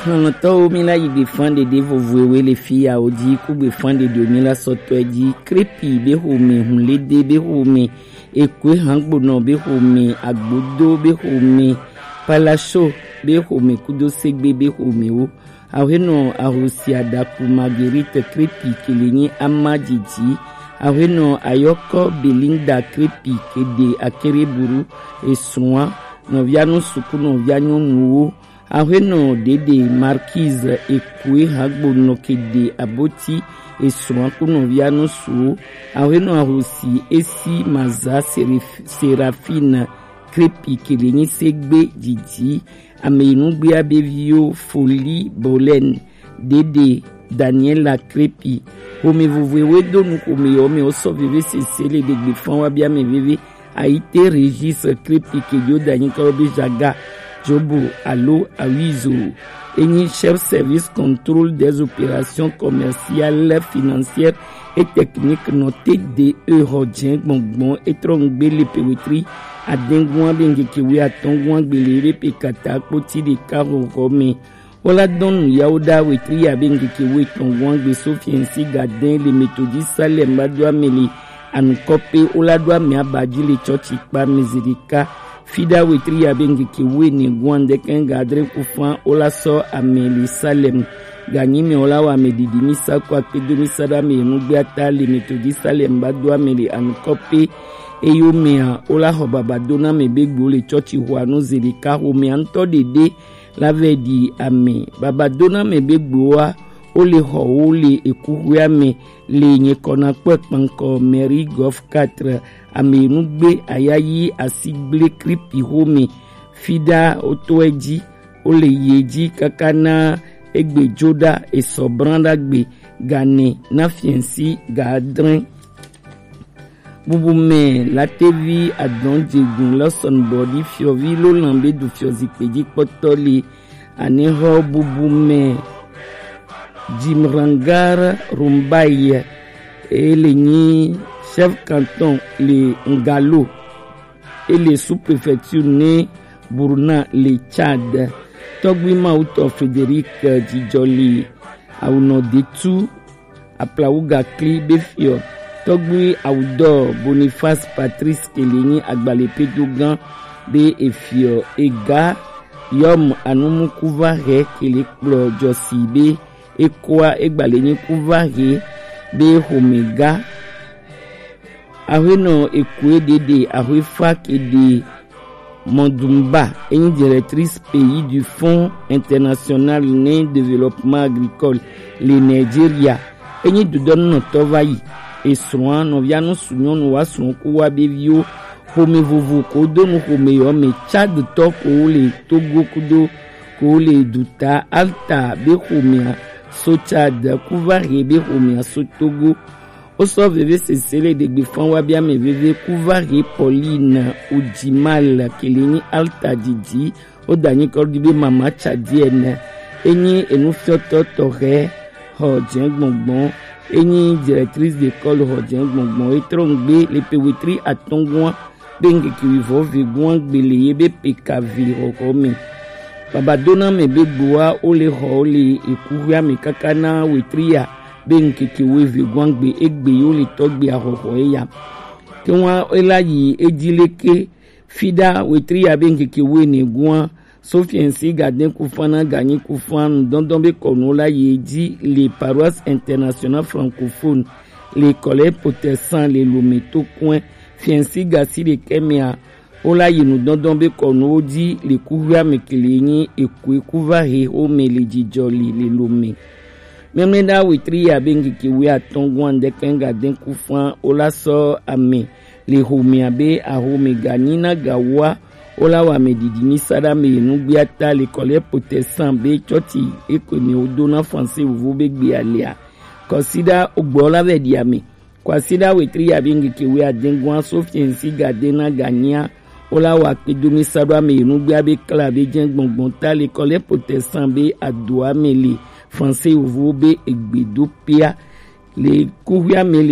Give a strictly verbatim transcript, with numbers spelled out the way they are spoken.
Xlɔ̃tɔwo, mi la yi gbefan ɖeɖe vovoewe le fi yawo ji, ku gbefan ɖeɖe mi la sɔtɔe ji. Krepi be xome, Hunlede be xome, Ekue Hangbonɔ be xome, Agbodo be xome, Palaso be xome kudo Segbe be xomewo. Axwenɔ Ahosi Adaku Marguerite Krepi ke le nyi ama jiji. Axwenɔ Ayɔkɔ Belinda Krepi ke de Akereburu esua nɔvia nu suku nɔvia nyɔnuwo. Axwenɔ Dede Marquise Ekue Hagbonɔ ke de Aboti esua ku nɔvia nu suwo. Axwenɔ Ahosi Esi Maza Serif-, Serafine Krepi ke le nyi Segbe jiji. Ame yi nugbea be viwo Foli Bolɛn, Dede Daniela Krepi. Xome vovoewe do nu xome yɔ me wo sɔ veve sese le ɖegbe fan wa bia me veve. Ayite Régis Krepi ke jo danyi kɔ be Jaga, Jobo alo Awizo. Enyi chef service contrôle des opérations commerciales, financières et techniques nɔ T D E xɔ jɛ gbɔngbɔn etrɔ ŋgbe le pewetri adengua be ŋkeke wi atɔngua gbele be pe kata kpoti ɖeka xɔxɔ me. Wola dɔn nu yawo ɖa wetri ya be ŋkeke wi etɔngua gbe so fiɛnsi gadɛn le metodi Salem ba do ame le anukɔ pe wola do ame aba ji le tsɔtsi kpa me zi ɖeka. Fiɖa wetri ya be ŋkeke wi ene gua ŋdɛkɛ ga adre kufan wola sɔ ame le Salem. Ganyi me wola wa ame didi mi sa ko akpe do mi sa ɖa me enu gbe ata le metodi Salem ba do ame le anukɔ pe. Eyo mea wola xɔ baba do na me be gbo le tsɔtsi xɔ anu zi ɖeka xɔ mea ŋutɔ ɖeɖe la vɛ ɖi ame. Baba do na me be gboa wo le xɔ wo le ekuxuea me le nye kɔna kpɔ ekpankɔ Mary Golf quatre ame nu gbe aya yi asi gble Kripi xome. Fiɖa wotɔe ji wo le ye ji kaka na egbe jo ɖa esɔ bran ɖa gbe gane na fiɛnsi ga adre. Bubu mɛ latevi adɔn jegun lɔsɔn bɔ ɖi fiɔvi lo lan be du fiɔ zikpe ji kpɔtɔ li. Anexɔ bubu mɛ Jimrangar Rumbai e le nyi chef canton le Ngalo e le sous-préfecture ne Burna le Tchad. Tɔgbi Mawutɔ Frédéric Jijɔli Awunɔ Detu Aplawuga kli be fiɔ. Tɔgbi Awudɔ Boniface Patrice ke le nyi agbalẽpedogan be efiɔ ega yɔm anumukuva he ke le kplɔ jɔsi be ekoa egbalẽ nyi kuva he be xomega. Ahuenɔ ekue ɖeɖe ahuefa ke ɖe Mɔdumba, enyi directrice pays du Fonds International ne Développement Agricole le Nigeria. Enyi dudɔnunɔtɔ va yi. Esrɔ̃a nɔvia nu su nyɔnu wa srɔ̃ ku wa be viwo. Xome vovo ko do nu xome yɔ me Tchad tɔ ko le Togo kudo ko le duta Alta be xomea so Tchad kuva he be xomea so Togo. Wosɔ veve sese le ɖegbe fan wa bia me veve kuva he Pauline Ujimal ke le nyi Alta didi. Wo da nyi kɔ ɖi be mama Tchadienne. Enyi enufiɔtɔ tɔxɛ xɔ jɛ gbɔngbɔn. Enyi directrice d'école xɔ jɛ gbɔngbɔn. Etrɔ ŋgbe le pe wetri atɔngua be ŋkeke wivɔ vegua gbe le ye be pe ka vi xɔxɔ me. Baba do na me be gboa wo le xɔ wo le ekuxuea me kaka na wetri ya be ŋkeke wo vegua gbe egbe yo le tɔgbe axɔxɔ eya. Ke wa ela yi edzi leke fiɖa wetri ya be ŋkeke wo ene gua so fiɛnsi gadɛn kufan na ganyi kufan nudɔndɔn be kɔnu la yi edzi le Paroisse Internationale Francophone le Collège Protestant le Lomé to kɔe. Fiɛnsi gasi ɖekɛ mea wo la yi nudɔndɔn be kɔnuwo dzi le kuxuea me ke le nyi ekue kuva he xome le jijɔ li le Lomé. Mɛmlɛɖa wetri ya be ŋkeke wui atɔn gua ŋdɛkɛ gadɛn kufan wo la sɔ ame le xomea be axome ganyi na gawoa wo la wa ame didi nyi sa ɖa me yi nugbea ta le Collège Protestant be tsɔtsi ekɔe me wo do na Français vovo be gbea lea. Kɔsiɖa ogbɔ la vɛ ɖi ame. Kwasiɖa wetri ya be ŋkeke wui adɛn gua so fiɛnsi gadɛn na ganyia wo la wa kpedo mi sa ɖo ame yi nugbea be kla be jɛ gbɔngbɔn ta le Collège Protestant be adoa me le Français vovo be egbe do pia le kuxuea me le